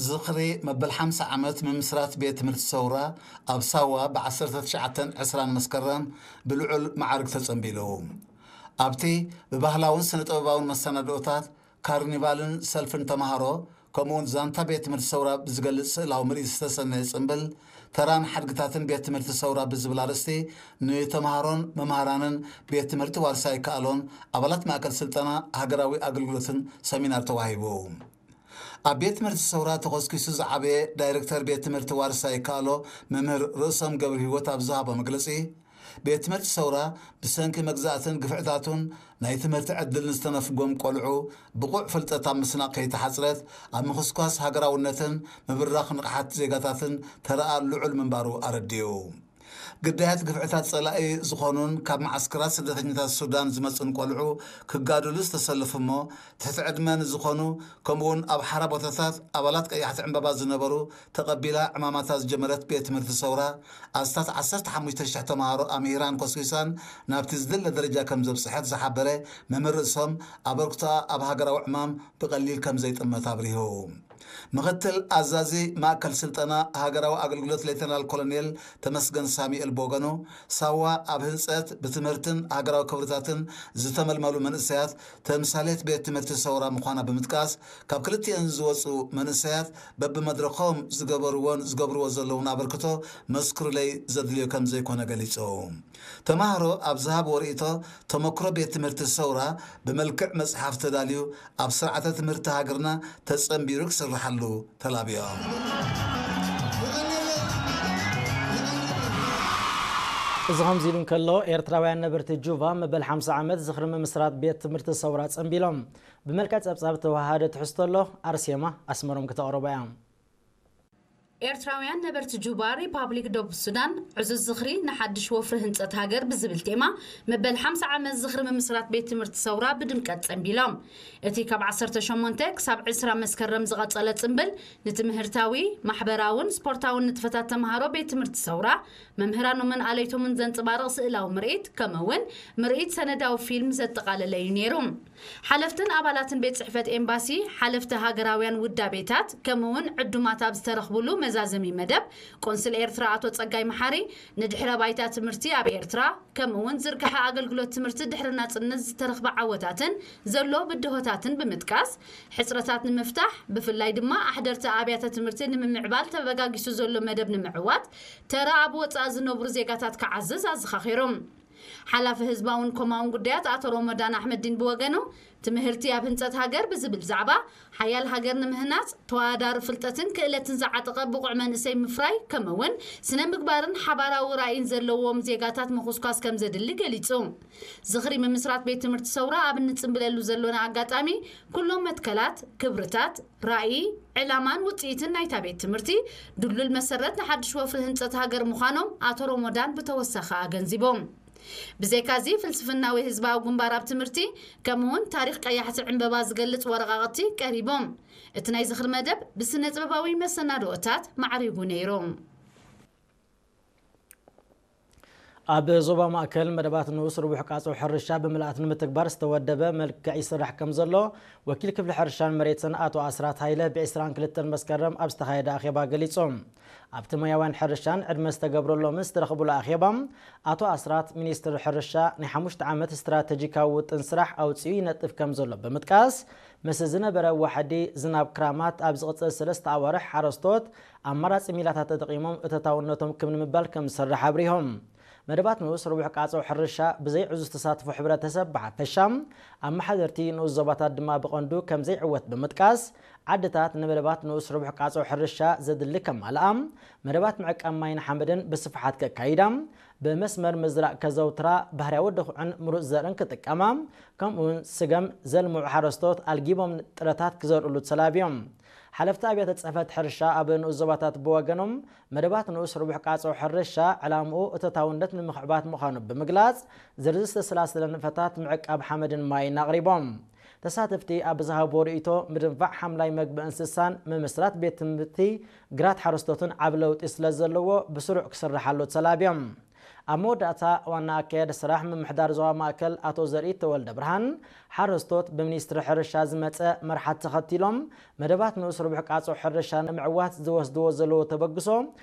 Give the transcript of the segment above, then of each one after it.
ዝኽሪ መበል ሓምሳ ዓመት ምምስራት ቤት ትምህርቲ ሰውራ ኣብ ሳዋ ብ19 20 መስከረም ብልዑል መዓርግ ተጸንቢሉ። ኣብቲ ብባህላውን ስነ-ጥበባውን መሰናድኦታት፣ ካርኒቫልን ሰልፍን ተማሃሮ፣ ከምኡውን ዛንታ ቤት ትምህርቲ ሰውራ ብዝገልጽ ስእላዊ ምርኢት ዝተሰነየ ጽምብል፣ ተራን ሓድግታትን ቤት ትምህርቲ ሰውራ ብዝብል ኣርእስቲ ንተማሃሮን መምሃራንን ቤት ትምህርቲ ዋርሳይ ይከኣሎን ኣባላት ማእከል ስልጠና ሃገራዊ ኣገልግሎትን ሰሚናር ተዋሂቡ። ኣብ ቤት ትምህርቲ ሰውራ ተኾስኪሱ ዝዓበየ ዳይሬክተር ቤት ትምህርቲ ዋርሳይ ይከኣሎ መምህር ርእሶም ገብረ ህይወት ኣብ ዝሃቦ መግለጺ፣ ቤት ትምህርቲ ሰውራ ብሰንኪ መግዛእትን ግፍዕታቱን ናይ ትምህርቲ ዕድል ንዝተነፍጎም ቆልዑ ብቑዕ ፍልጠት ኣብ ምስናቕ ከይተሓጽረት ኣብ ምኹስኳስ ሃገራውነትን ምብራኽ ንቕሓት ዜጋታትን ተረኣ ልዑል ምንባሩ ኣረዲኡ። ግዳያት ግፍዕታት ጸላኢ ዝኾኑን ካብ መዓስከራት ስደተኛታት ሱዳን ዝመጹን ቆልዑ ክጋደሉ ዝተሰለፉ እሞ ትሕቲ ዕድመ ንዝኾኑ ከምኡውን ኣብ ሓራ ቦታታት ኣባላት ቀያሕቲ ዕምባባ ዝነበሩ ተቐቢላ ዕማማታ ዝጀመረት ቤት ትምህርቲ ሰውራ ኣስታት 15,000 ተምሃሮ ኣምሂራን ኮስኪሳን ናብቲ ዝድለ ደረጃ ከም ዘብጽሐት ዝሓበረ መምህር ርእሶም ኣበርክቶኣ ኣብ ሃገራዊ ዕማም ብቐሊል ከም ዘይጥመት ኣብሪሁ። ምኽትል ኣዛዚ ማእከል ስልጠና ሃገራዊ ኣገልግሎት ሌተናል ኮሎኔል ተመስገን ሳሙኤል ብወገኑ፣ ሳዋ ኣብ ህንጸት ብትምህርትን ሃገራዊ ክብርታትን ዝተመልመሉ መንእሰያት ተምሳሌት ቤት ትምህርቲ ሰውራ ምዃና ብምጥቃስ፣ ካብ ክልቲኤን ዝወጹ መንእሰያት በብመድረኾም ዝገበርዎን ዝገብርዎ ዘለውን ኣበርክቶ መስክሩለይ ዘድልዮ ከም ዘይኮነ ገሊጹ። ተማሃሮ ኣብ ዝሃብዎ ርእይቶ፣ ተመክሮ ቤት ትምህርቲ ሰውራ ብመልክዕ መጽሓፍ ተዳልዩ ኣብ ስርዓተ ትምህርቲ ሃገርና ተጸንቢሩ ክስርሓሉ ተላብዮም። እዚ ከምዚ ኢሉ እንከሎ፣ ኤርትራውያን ነበርቲ ጁባ መበል ሓምሳ ዓመት ዝኽሪ ምምስራት ቤት ትምህርቲ ሰውራ ጸንቢሎም። ብመልክዕ ጸብጻብ ተወሃደ ትሕዝቶ ኣሎ፣ ኣርሴማ ኣስመሮም ክተቕርቦ እያ። ኤርትራውያን ነበርቲ ጁባ፣ ሪፓብሊክ ደቡብ ሱዳን፣ ዕዙዝ ዝኽሪ ንሓድሽ ወፍሪ ህንጸት ሃገር ብዝብል ቴማ፣ መበል ሓምሳ ዓመት ዝኽሪ ምምስራት ቤት ትምህርቲ ሰውራ ብድምቀት ጸንቢሎም። እቲ ካብ ዓሰርተ ሸሞንተ ክሳብ ዕስራ መስከረም ዝቐጸለ ጽምብል፣ ንትምህርታዊ፣ ማሕበራውን ስፖርታውን ንጥፈታት ተምሃሮ ቤት ትምህርቲ ሰውራ፣ መምህራኖምን ኣለይቶምን ዘንጸባርቕ ስእላዊ ምርኢት፣ ከምኡ እውን ምርኢት ሰነዳዊ ፊልም ዘጠቓለለ እዩ ነይሩ። ሓለፍትን ኣባላትን ቤት ጽሕፈት ኤምባሲ፣ ሓለፍቲ ሃገራውያን ውዳቤታት፣ ከምኡ እውን ዕዱማት ኣብ ዝተረኽብሉ መዛዘሚ መደብ፣ ቆንስል ኤርትራ ኣቶ ጸጋይ መሓሪ፣ ንድሕረ ባይታ ትምህርቲ ኣብ ኤርትራ፣ ከምኡ እውን ዝርግሐ ኣገልግሎት ትምህርቲ ድሕሪ ናጽነት ዝተረኽበ ዓወታትን ዘሎ ብድሆታትን ብምጥቃስ፣ ሕጽረታት ንምፍታሕ፣ ብፍላይ ድማ ኣሕደርቲ ኣብያተ ትምህርቲ ንምምዕባል ተበጋጊሱ ዘሎ መደብ ንምዕዋት፣ ተራ ኣብ ወጻኢ ዝነብሩ ዜጋታት ክዓዝዝ ኣዘኻኺሮም። ሓላፊ ህዝባውን ኮማውን ጉዳያት ኣቶ ሮሞዳን ኣሕመዲን ብወገኑ፣ ትምህርቲ ኣብ ህንጸት ሃገር ብዝብል ዛዕባ፣ ሓያል ሃገር ንምህናጽ፣ ተወዳዳሪ ፍልጠትን ክእለትን ዝዓጠቐ ብቑዕ መንእሰይ ምፍራይ፣ ከምኡ እውን ስነ ምግባርን ሓባራዊ ራእይን ዘለዎም ዜጋታት ምኹስኳስ ከም ዘድሊ ገሊጹ። ዝኽሪ ምምስራት ቤት ትምህርቲ ሰውራ ኣብ እንጽንብለሉ ዘሎና ኣጋጣሚ፣ ኩሎም መትከላት፣ ክብርታት፣ ራእይ፣ ዕላማን ውጽኢትን ናይታ ቤት ትምህርቲ ድልዱል መሰረት ንሓድሽ ወፍሪ ህንጸት ሃገር ምዃኖም ኣቶ ሮሞዳን ብተወሳኺ ኣገንዚቦም። ብዘይካዚ፣ ፍልስፍናዊ ህዝባዊ ግንባር ኣብ ትምህርቲ፣ ከምኡውን ታሪኽ ቀያሕቲ ዕምበባ ዝገልጽ ወረቓቕቲ ቀሪቦም። እቲ ናይ ዝኽሪ መደብ ብስነ ጥበባዊ መሰናድኦታት ማዕሪጉ ነይሩ። ኣብ ዞባ ማእከል መደባት ንኡስ ርቡሕ ቃጾ ሕርሻ ብምልኣት ንምትግባር ዝተወደበ መልክዕ ይስራሕ ከም ዘሎ ወኪል ክፍሊ ሕርሻን መሬትን ኣቶ ኣስራት ሃይለ ብ22 መስከረም ኣብ ዝተኻየደ ኣኼባ ገሊጾም። ኣብቲ ሞያውያን ሕርሻን ዕድመ ዝተገብረሎምን ዝተረኽብሉ ኣኼባ፣ ኣቶ ኣስራት፣ ሚኒስትሪ ሕርሻ ናይ ሓሙሽተ ዓመት ስትራተጂካዊ ውጥን ስራሕ ኣውጺኡ ይነጥፍ ከም ዘሎ ብምጥቃስ፣ ምስ ዝነበረ ዋሕዲ ዝናብ ክራማት ኣብ ዝቕጽል ሰለስተ ኣዋርሕ ሓረስቶት ኣማራጺ ሚላታት ተጠቒሞም እተታውነቶም ክብ ንምባል ከም ዝሰርሕ ኣብሪሆም። መደባት ንኡስ ርቡሕ ቃጾ ሕርሻ ብዘይ ዕዙዝ ተሳትፎ ሕብረተሰብ ብሓፈሻ፣ ኣመሓደርቲ ንኡስ ዞባታት ድማ ብቐንዱ ከም ዘይዕወት ብምጥቃስ፣ ዓድታት ንመደባት ንኡስ ርቡሕ ቃጾ ሕርሻ ዘድሊ ከማልኣ፣ መደባት ምዕቃብ ማይን ሓመድን ብስፍሓት ከካይዳ፣ ብመስመር ምዝራእ ከዘውትራ፣ ባህርያዊ ድኹዕን ምሩጽ ዘርእን ክጥቀማ፣ ከምኡውን ስገም ዘልምዑ ሓረስቶት ኣልጊቦም ጥረታት ክዘርእሉ ተላብዮም። ሓለፍቲ ኣብያተ ጽሕፈት ሕርሻ ኣብ ንኡስ ዞባታት ብወገኖም፣ መደባት ንኡስ ርቡሕ ቃጾ ሕርሻ ዕላምኡ እቶታውነት ንምኽዕባት ምዃኑ ብምግላጽ፣ ዝርዝር ዝተሰላሰለ ንጥፈታት ምዕቃብ ሓመድን ማይን ኣቕሪቦም። ተሳተፍቲ ኣብ ዝሃብዎ ርእይቶ፣ ምድንፋዕ ሓምላይ መግቢ እንስሳን ምምስራት ቤት ትምህርቲ ግራት ሓረስቶትን ዓቢ ለውጢ ስለ ዘለዎ፣ ብስሩዕ ክስርሓሉ ተላብዮም። ኣብ መወዳእታ ዋና ኣካያዲ ስራሕ ምምሕዳር ዞባ ማእከል ኣቶ ዘርኢ ተወልደ ብርሃን፣ ሓረስቶት ብሚኒስትሪ ሕርሻ ዝመጸ መርሓት ተኸቲሎም መደባት ንኡስ ርቡሕ ቃጾ ሕርሻ ንምዕዋት ዝወስድዎ ዘለዉ ተበግሶ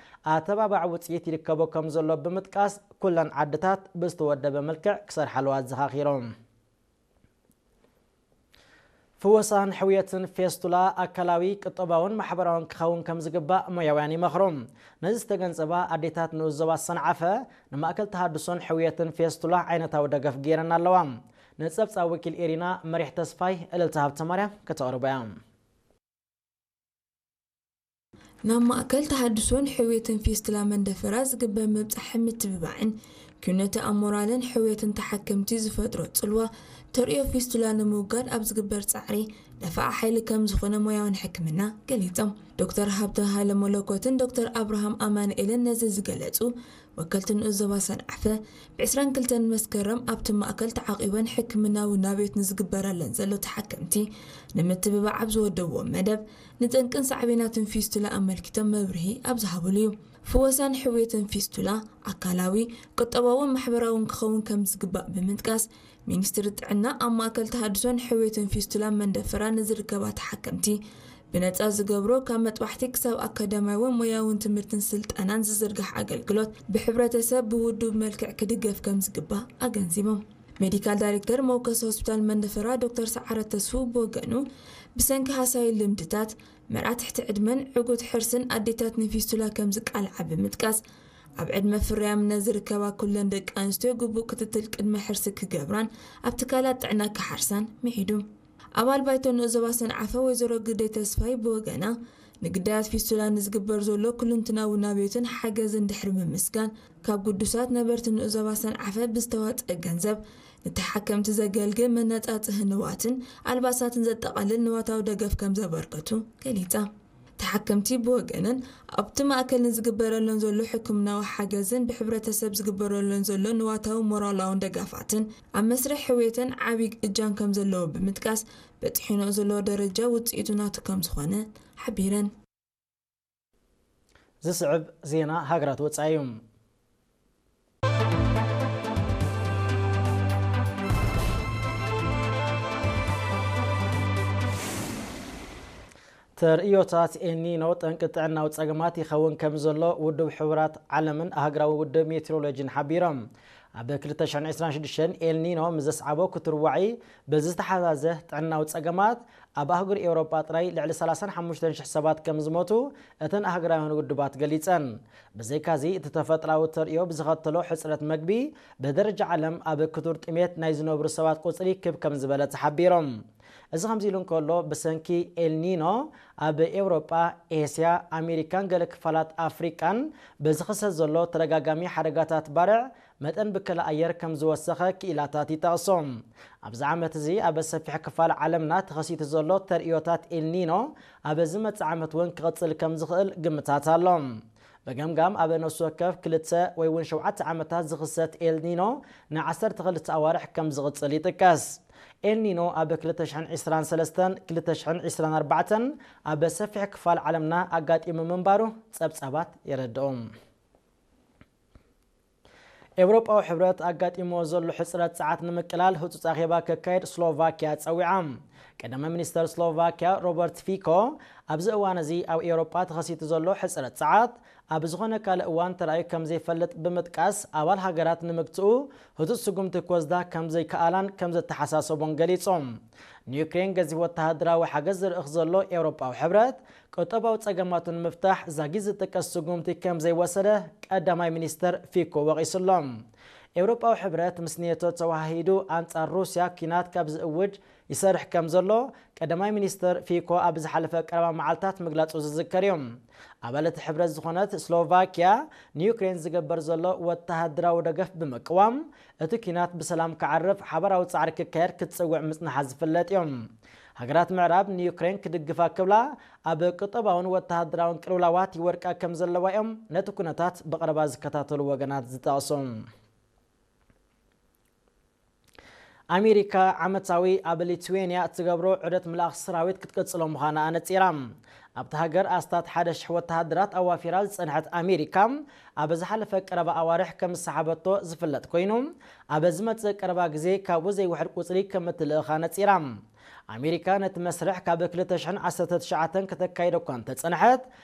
ኣተባባዕ ውጽኢት ይርከቦ ከም ዘሎ ብምጥቃስ፣ ኩለን ዓድታት ብዝተወደበ መልክዕ ክሰርሓሉ ኣዘኻኺሮም። ፍወሳን ሕውየትን ፌስቱላ ኣካላዊ፣ ቁጠባውን ማሕበራውን ክኸውን ከም ዝግባእ ሞያውያን ይመኽሩ። ነዚ ዝተገንዘባ ኣዴታት ንኡስ ዞባ ሰንዓፈ ንማእከል ተሃድሶን ሕውየትን ፌስቱላ ዓይነታዊ ደገፍ ገይረን ኣለዋ። ንጸብጻብ ወኪል ኤሪና መሪሕ ተስፋይ እልልታ ሃብተማርያም ከተቕርቦ እያ። ናብ ማእከል ተሃድሶን ሕውየትን ፊስቱላ መንደፈራ ዝግበር ምብጻሕን ምትብባዕን፣ ኪነተ ኣብ ሞራልን ሕውየትን ተሓከምቲ ዝፈጥሮ ጽልዋ፣ ተርእዮ ፊስቱላ ንምውጋድ ኣብ ዝግበር ጻዕሪ ደፋኣ ሓይሊ ከም ዝኾነ ሞያውን ሕክምና ገሊጾም። ዶክተር ሃብተ ሃይለ መለኮትን ዶክተር ኣብርሃም ኣማኑኤልን ነዚ ዝገለጹ፣ ወከልቲ ንኡስ ዞባ ሰንዓፈ፣ ብ ዕስራን ክልተን መስከረም ኣብቲ ማእከል ተዓቒበን ሕክምናዊ ናብዮት ንዝግበረለን ዘሎ ተሓከምቲ ንምትብባዕ ኣብ ዝወደብዎ መደብ፣ ንጠንቅን ሳዕቤናትን ፊስቱላ ኣመልኪቶም መብርሂ ኣብ ዝሃብሉ እዩ። ፍወሳን ሕውየትን ፊስቱላ ኣካላዊ፣ ቁጠባውን ማሕበራውን ክኸውን ከም ዝግባእ ብምጥቃስ፣ ሚኒስትሪ ጥዕና ኣብ ማእከል ተሃድሶን ሕውየትን ፊስቱላ መንደፈራ ንዝርከባ ተሓከምቲ ብነጻ ዝገብሮ፣ ካብ መጥባሕቲ ክሳብ ኣካዳሚያዊ ሞያውን ትምህርትን ስልጠናን ዝዝርጋሕ ኣገልግሎት፣ ብሕብረተሰብ ብውዱብ መልክዕ ክድገፍ ከም ዝግባእ ኣገንዚቦም። ሜዲካል ዳይሬክተር መወከሲ ሆስፒታል መንደፈራ ዶክተር ሰዓረ ተስፉ ብወገኑ፣ ብሰንኪ ሃሳይ ልምድታት፣ መርዓ ትሕቲ ዕድመን ዕጉት ሕርስን ኣዴታት ንፊስቱላ ከም ዝቃልዓ ብምጥቃስ፣ ኣብ ዕድመ ፍርያምነት ዝርከባ ኩለን ደቂ ኣንስትዮ ግቡእ ክትትል ቅድመ ሕርሲ ክገብራን ኣብ ትካላት ጥዕና ክሓርሳን ምዒዱ። ኣባል ባይቶ ንኡስ ዞባ ሰንዓፈ ወይዘሮ ግደይ ተስፋይ ብወገና፣ ንግዳያት ፊስቱላ ንዝግበር ዘሎ ኩልንትናዊ ናብዮትን ሓገዝን ድሕሪ ምምስጋን፣ ካብ ግዱሳት ነበርቲ ንኡስ ዞባ ሰንዓፈ ብዝተዋፀአ ገንዘብ ንተሓከምቲ ዘገልግል መነፃፅሂ ንዋትን ኣልባሳትን ዘጠቓልል ንዋታዊ ደገፍ ከም ዘበርከቱ ገሊፃ። ተሓከምቲ ብወገነን፣ ኣብቲ ማእከል ንዝግበረለን ዘሎ ሕክምናዊ ሓገዝን ብሕብረተሰብ ዝግበረለን ዘሎ ንዋታዊ ሞራላውን ደጋፋትን ኣብ መስርሕ ሕውየተን ዓቢ እጃም ከም ዘለዎ ብምጥቃስ፣ በጺሑንኦ ዘሎ ደረጃ ውጽኢቱ ናቱ ከም ዝኾነ ሓቢረን። ዝስዕብ ዜና ሃገራት ወጻኢ እዩ። ተርእዮታት ኤልኒኖ ጠንቂ ጥዕናዊ ጸገማት ይኸውን ከም ዘሎ ውድብ ሕቡራት ዓለምን ኣህጉራዊ ውድብ ሜትሮሎጂን ሓቢሮም። ኣብ ክልተ ሽሕን ዕስራን ሽዱሽተን ኤልኒኖ ምስ ዘስዓቦ ክትርዋዒ ብዝተሓዛዘ ጥዕናዊ ጸገማት ኣብ ኣህጉር ኤውሮጳ ጥራይ ልዕሊ ሰላሳን ሓሙሽተን ሽሕ ሰባት ከም ዝሞቱ እተን ኣህጉራውያን ውድባት ገሊጸን። ብዘይካዚ፣ እቲ ተፈጥራዊ ተርእዮ ብዝኸተሎ ሕጽረት መግቢ፣ ብደረጃ ዓለም ኣብ ክቱር ጥሜት ናይ ዝነብሩ ሰባት ቁጽሪ ክብ ከም ዝበለ ተሓቢሮም። እዚ ከምዚ ኢሉ እንከሎ፣ ብሰንኪ ኤልኒኖ ኣብ ኤውሮጳ፣ ኤስያ፣ ኣሜሪካን ገለ ክፋላት ኣፍሪቃን ብዝኽሰት ዘሎ ተደጋጋሚ ሓደጋታት ባርዕ፣ መጠን ብከላ ኣየር ከም ዝወሰኸ ክኢላታት ይጠቕሶ። ኣብዚ ዓመት እዚ ኣብ ሰፊሕ ክፋል ዓለምና ተኸሲቱ ዘሎ ተርእዮታት ኤልኒኖ ኣብ ዝመጽእ ዓመት እውን ክቕጽል ከም ዝኽእል ግምታት ኣሎ። ብገምጋም ኣብ ነፍሲ ወከፍ ክልተ ወይ እውን ሸውዓተ ዓመታት ዝኽሰት ኤልኒኖ ንዓሰርተ ክልተ ኣዋርሕ ከም ዝቕጽል ይጥቀስ። ኤልኒኖ ኣብ ክልተ ሽሕን ዕስራን ሰለስተን ክልተ ሽሕን ዕስራን ኣርባዕተን ኣብ ሰፊሕ ክፋል ዓለምና ኣጋጢሙ ምንባሩ ጸብጻባት የረድኦም። ኤውሮጳዊ ሕብረት ኣጋጢሞ ዘሎ ሕጽረት ጸዓት ንምቅላል ህጹጽ ኣኼባ ከካየድ ስሎቫኪያ ጸዊዓ። ቀዳማይ ሚኒስተር ስሎቫኪያ ሮበርት ፊኮ፣ ኣብዚ እዋን እዚ ኣብ ኤውሮጳ ተኸሲቱ ዘሎ ሕጽረት ጸዓት ኣብ ዝኾነ ካልእ እዋን ተራእዩ ከም ዘይፈልጥ ብምጥቃስ፣ ኣባል ሃገራት ንምግትኡ ህጹጽ ስጉምቲ ክወስዳ ከም ዘይከኣላን ከም ዘተሓሳሰቦን ገሊጾም። ንዩክሬን ገዚፍ ወተሃደራዊ ሓገዝ ዝልእኽ ዘሎ ኤውሮጳዊ ሕብረት፣ ቁጠባዊ ጸገማቱ ንምፍታሕ ዛጊት ዝጥቀስ ስጉምቲ ከም ዘይወሰደ ቀዳማይ ሚኒስተር ፊኮ ወቒሱሎም። ኤውሮጳዊ ሕብረት ምስ ኔቶ ተወሃሂዱ ኣንጻር ሩስያ ኲናት ካብ ዝእውጅ ይሰርሕ ከም ዘሎ ቀዳማይ ሚኒስተር ፊኮ ኣብ ዝሓለፈ ቀረባ መዓልታት ምግላጹ ዝዝከር እዩ። ኣባል እቲ ሕብረት ዝኾነት ስሎቫኪያ ንዩክሬን ዝገበር ዘሎ ወተሃደራዊ ደገፍ ብምቅዋም፣ እቲ ኲናት ብሰላም ክዓርፍ ሓባራዊ ጻዕሪ ክካየድ ክትጽውዕ ምጽናሓ ዝፍለጥ እዩ። ሃገራት ምዕራብ ንዩክሬን ክድግፋ ክብላ ኣብ ቁጠባውን ወተሃደራውን ቅልውላዋት ይወድቃ ከም ዘለዋ እዮም ነቲ ኩነታት ብቐረባ ዝከታተሉ ወገናት ዝጠቕሱ። ኣሜሪካ ዓመታዊ ኣብ ሊትዌንያ እትገብሮ ዑደት ምልኣኽ ሰራዊት ክትቅጽሎ ምዃና ኣነጺራ። ኣብታ ሃገር ኣስታት ሓደ ሽሕ ወተሃደራት ኣዋፊራ ዝጸንሐት ኣሜሪካ፣ ኣብ ዝሓለፈ ቀረባ ኣዋርሕ ከም ዝሰሓበቶ ዝፍለጥ ኮይኑ፣ ኣብ ዝመጽእ ቀረባ ግዜ ካብኡ ዘይውሕድ ቁጽሪ ከም እትልእኻ ነጺራ። ኣሜሪካ ነቲ መስርሕ ካብ ክልተ ሽሕን ዓሰርተ ትሽዓተን ከተካይዶ እኳ እንተጸንሐት፣